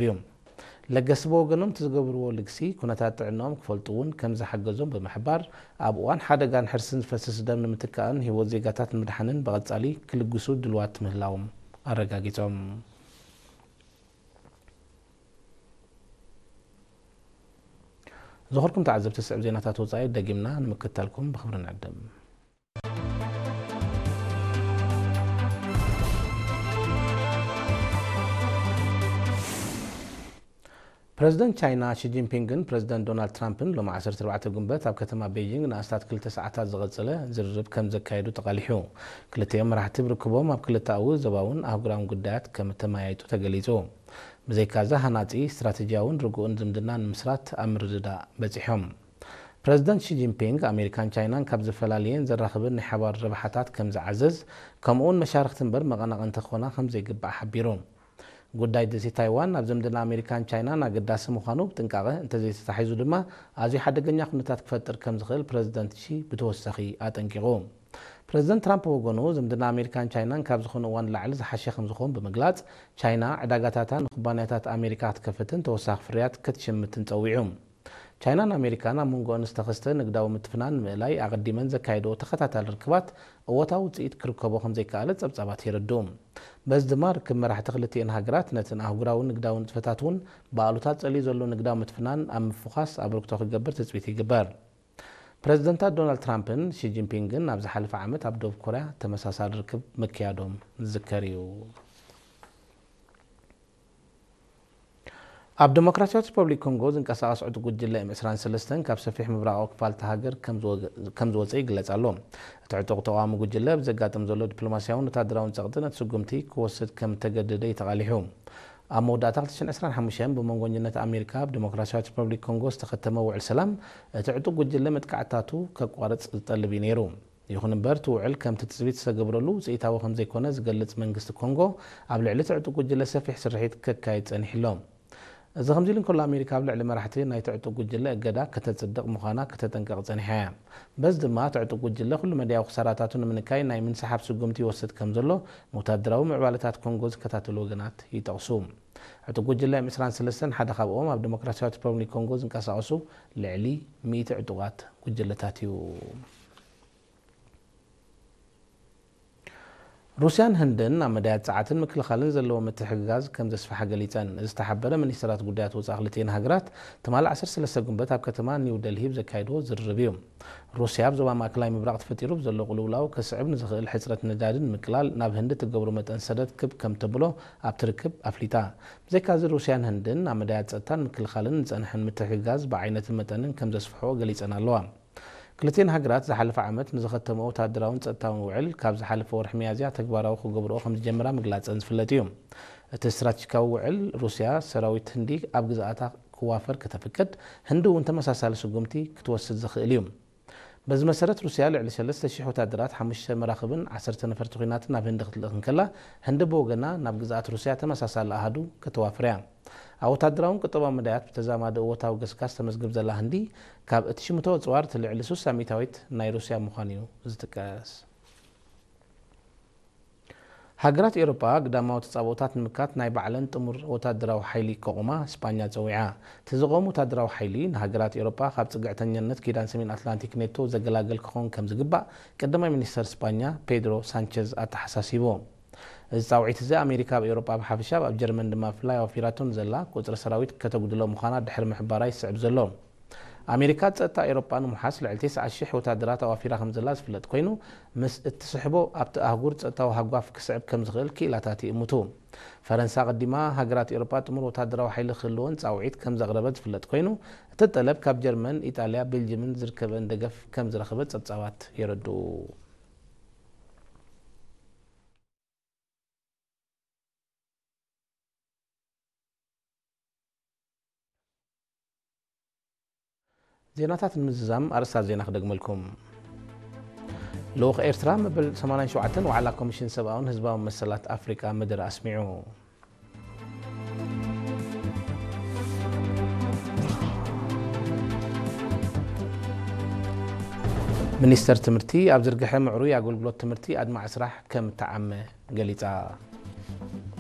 እዩ። ለገስቲ ብወገኖም እቲ ዝገብርዎ ልግሲ ኩነታት ጥዕናኦም ክፈልጡ እውን ከም ዝሓገዞም ብምሕባር፣ ኣብ እዋን ሓደጋን ሕርስን ዝፈስስ ደም ንምትካእን ህይወት ዜጋታት ንምድሓንን ብቐጻሊ ክልግሱ ድልዋት ምህላዎም ኣረጋጊጾም። ዝኸርኩም ተዓዘብቲ፣ ዝስዕብ ዜናታት ወጻኢ ደጊምና ንምክትታልኩም ብኽብሪ ንዕድም። ፕረዚደንት ቻይና ሺ ጂንፒንግን ፕረዚደንት ዶናልድ ትራምፕን ሎሚ ዓሰርተ ኣርባዕተ ጉንበት ኣብ ከተማ ቤይጂንግ ንኣስታት ክልተ ሰዓታት ዝቐጸለ ዝርርብ ከም ዘካየዱ ተቓሊሑ። ክልቲኦም መራሕቲ ብርክቦም ኣብ ክልተኣዊ፣ ዞባውን ኣህጉራውን ጉዳያት ከም እተመያየጡ ተገሊጹ። ብዘይካዚ ሃናጺ፣ ስትራተጂያውን ርጉእን ዝምድና ንምስራት ኣብ ምርድዳእ በጺሖም። ፕረዚደንት ሺ ጂንፒንግ ኣሜሪካን ቻይናን ካብ ዝፈላልየን ዘራኽበን ናይ ሓባር ረብሓታት ከም ዝዓዘዝ፣ ከምኡውን መሻርኽቲ እምበር መቐናቐንቲ ክኾና ከም ዘይግባእ ሓቢሩ። ጉዳይ ደሴት ታይዋን ኣብ ዝምድና ኣሜሪካን ቻይናን ኣገዳሲ ምዃኑ ብጥንቃቐ እንተዘይተታሒዙ ድማ ኣዝዩ ሓደገኛ ኩነታት ክፈጥር ከም ዝኽእል ፕረዚደንት ሺ ብተወሳኺ ኣጠንቂቑ። ፕረዚደንት ትራምፕ ብወገኑ ዝምድና ኣሜሪካን ቻይናን ካብ ዝኾነ እዋን ንላዕሊ ዝሓሸ ከም ዝኾን ብምግላጽ፣ ቻይና ዕዳጋታታ ንኩባንያታት ኣሜሪካ ክትከፍትን ተወሳኺ ፍርያት ክትሽምትን ጸዊዑ። ቻይናን ኣሜሪካን ኣብ መንጎኦን ዝተኸስተ ንግዳዊ ምትፍናን ንምእላይ ኣቐዲመን ዘካየድኦ ተኸታታሊ ርክባት እወታዊ ውጽኢት ክርከቦ ከም ዘይከኣለ ጸብጻባት የረድኡ። በዚ ድማ ርክብ መራሕቲ ክልቲኤን ሃገራት ነተን ኣህጉራዊ ንግዳዊ ንጥፈታት እውን ብኣሉታ ጸልዩ ዘሎ ንግዳዊ ምትፍናን ኣብ ምፍዃስ ኣበርክቶ ክገብር ትጽቢት ይግበር። ፕረዚደንታት ዶናልድ ትራምፕን ሺ ጂንፒንግን ኣብ ዝሓለፈ ዓመት ኣብ ደቡብ ኮርያ ተመሳሳሊ ርክብ ምክያዶም ዝዝከር እዩ። ኣብ ዲሞክራሲያዊት ሪፐብሊክ ኮንጎ ዝንቀሳቐስ ዕጡቕ ጉጅለ ኤም ዕስራን ሰለስተን ካብ ሰፊሕ ምብራቓዊ ክፋል እታ ሃገር ከም ዝወገ-፣ ከም ዝወጸ ይግለጽ ኣሎ። እቲ ዕጡቕ ተቓዋሚ ጉጅለ ብዘጋጥም ዘሎ ዲፕሎማስያውን ወታደራውን ጸቕጢ ነቲ ስጉምቲ ክወስድ ከም እተገደደ እዩ ተቓሊሑ። ኣብ መወዳእታ ክልተ ሽሕን ዕስራን ሓሙሽተን ብመንጎኝነት ኣሜሪካ ኣብ ዲሞክራሲያዊት ሪፐብሊክ ኮንጎ ዝተኸተመ ውዕል ሰላም፣ እቲ ዕጡቕ ጉጅለ መጥቃዕትታቱ ከቋርጽ ዝጠልብ እዩ ነይሩ። ይኹን እምበር፣ እቲ ውዕል ከምቲ ትጽቢት ዝተገብረሉ ውጽኢታዊ ከም ዘይኮነ ዝገልጽ መንግስቲ ኮንጎ፣ ኣብ ልዕሊ እቲ ዕጡቕ ጉጅለ ሰፊሕ ስርሒት ከካይድ ጸኒሑ ኣሎ። እዚ ከምዚ ኢሉ እንከሎ፣ ኣሜሪካ ኣብ ልዕሊ መራሕቲ ናይቲ ዕጡቕ ጉጅለ እገዳ ከተጽድቕ ምዃና ከተጠንቅቕ ጸኒሓ እያ። በዚ ድማ፣ እቲ ዕጡቕ ጉጅለ ኩሉ መዳያዊ ክሳራታቱ ንምንካይ ናይ ምንስሓብ ስጉምቲ ይወስድ ከም ዘሎ ንወታደራዊ ምዕባለታት ኮንጎ ዝከታተሉ ወገናት ይጠቕሱ። ዕጡቕ ጉጅለ ኤም ዕስራን ሰለስተን ሓደ ካብኦም ኣብ ዲሞክራሲያዊት ሪፐብሊክ ኮንጎ ዝንቀሳቐሱ ልዕሊ ሚእቲ ዕጡቓት ጉጅለታት እዩ። ሩስያን ህንድን ኣብ መዳያት ጸዓትን ምክልኻልን ዘለዎ ምትሕግጋዝ ከም ዘስፍሓ ገሊጸን። እዚ ዝተሓበረ፣ ሚኒስትራት ጉዳያት ወጻኢ ክልቲኤን ሃገራት ትማሊ ዓሰርተ ሰለስተ ጉንበት ኣብ ከተማ ኒው ደልሂ ብዘካየድዎ ዝርርብ እዩ። ሩስያ ኣብ ዞባ ማእከላይ ምብራቕ ተፈጢሩ ብዘሎ ቅልውላው ከስዕብ ንዝኽእል ሕጽረት ነዳዲ ንምቅላል ናብ ህንዲ ትገብሮ መጠን ሰደድ ክብ ከም ተብሎ ኣብቲ ርክብ ኣፍሊጣ። ብዘይካዚ፣ ሩስያን ህንድን ኣብ መዳያት ጸጥታን ምክልኻልን ንጸንሐን ምትሕግጋዝ ብዓይነትን መጠንን ከም ዘስፍሕኦ ገሊጸን ኣለዋ። ክልቲኤን ሃገራት ዝሓለፈ ዓመት ንዝኸተምኦ ወታደራውን ጸጥታውን ውዕል፣ ካብ ዝሓለፈ ወርሒ ሚያዝያ ተግባራዊ ክገብርኦ ከም ዝጀምራ ምግላጸን ዝፍለጥ እዩ። እቲ ስትራተጂካዊ ውዕል፣ ሩስያ ሰራዊት ህንዲ ኣብ ግዝኣታ ክዋፈር ከተፍቅድ፣ ህንዲ እውን ተመሳሳሊ ስጉምቲ ክትወስድ ዝኽእል እዩ። በዚ መሰረት፣ ሩስያ ልዕሊ ሰለስተ ሽሕ ወታደራት፣ ሓሙሽተ መራኽብን ዓሰርተ ነፈርቲ ኲናትን ናብ ህንዲ ክትልእኽ እንከላ፣ ህንዲ ብወገና ናብ ግዝኣት ሩስያ ተመሳሳሊ ኣሃዱ ከተዋፍር እያ። ኣብ ወታደራውን ቁጠባውን መዳያት ብተዛማዲ እወታዊ ገስጋስ ተመዝግብ ዘላ ህንዲ፣ ካብ እትሽምቶ ኣጽዋር እቲ ልዕሊ ስሳ ሚእታዊት ናይ ሩስያ ምዃኑ እዩ ዝጥቀስ። ሃገራት ኤውሮጳ ግዳማዊ ተጻብኦታት ንምክታት ናይ ባዕለን ጥሙር ወታደራዊ ሓይሊ ከቑማ ስጳኛ ጸዊዓ። እቲ ዝቖም ወታደራዊ ሓይሊ ንሃገራት ኤውሮጳ ካብ ጽግዕተኛነት ኪዳን ሰሜን ኣትላንቲክ ኔቶ ዘገላግል ክኸውን ከም ዝግባእ ቀዳማይ ሚኒስተር ስጳኛ ፔድሮ ሳንቸዝ ኣተሓሳሲቡ። እዚ ጻውዒት እዚ ኣሜሪካ ኣብ ኤውሮጳ ብሓፈሻ ኣብ ጀርመን ድማ ብፍላይ ኣዋፊራቶ ንዘላ ቁጽሪ ሰራዊት ከተጉድሎ ምዃና ድሕሪ ምሕባራ ይስዕብ ዘሎ። ኣሜሪካ ጸጥታ ኤውሮጳ ንምውሓስ ልዕሊ ተስዓ ሽሕ ወታደራት ኣዋፊራ ከም ዘላ ዝፍለጥ ኮይኑ፣ ምስ እትስሕቦ ኣብቲ ኣህጉር ጸጥታዊ ሃጓፍ ክስዕብ ከም ዝኽእል ክኢላታት ይእምቱ። ፈረንሳ ኣቐዲማ ሃገራት ኤውሮጳ ጥሙር ወታደራዊ ሓይሊ ክህልወን ጻውዒት ከም ዘቕረበት ዝፍለጥ ኮይኑ፣ እቲ ጠለብ ካብ ጀርመን፣ ኢጣልያ፣ ቤልጅምን ዝርከበን ደገፍ ከም ዝረኸበት ጸብጻባት የረድኡ። ዜናታት ንምዝዛም ኣርእስታት ዜና ክደግመልኩም። ልኡኽ ኤርትራ መበል ሰማንያን ሸውዓተን ዋዕላ ኮሚሽን ሰብኣውን ህዝባውን መሰላት ኣፍሪቃ መደረ ኣስሚዑ። ሚኒስተር ትምህርቲ ኣብ ዝርግሐ ምዕሩይ ኣገልግሎት ትምህርቲ ኣድማዒ ስራሕ ከም እተዓመ ገሊጻ።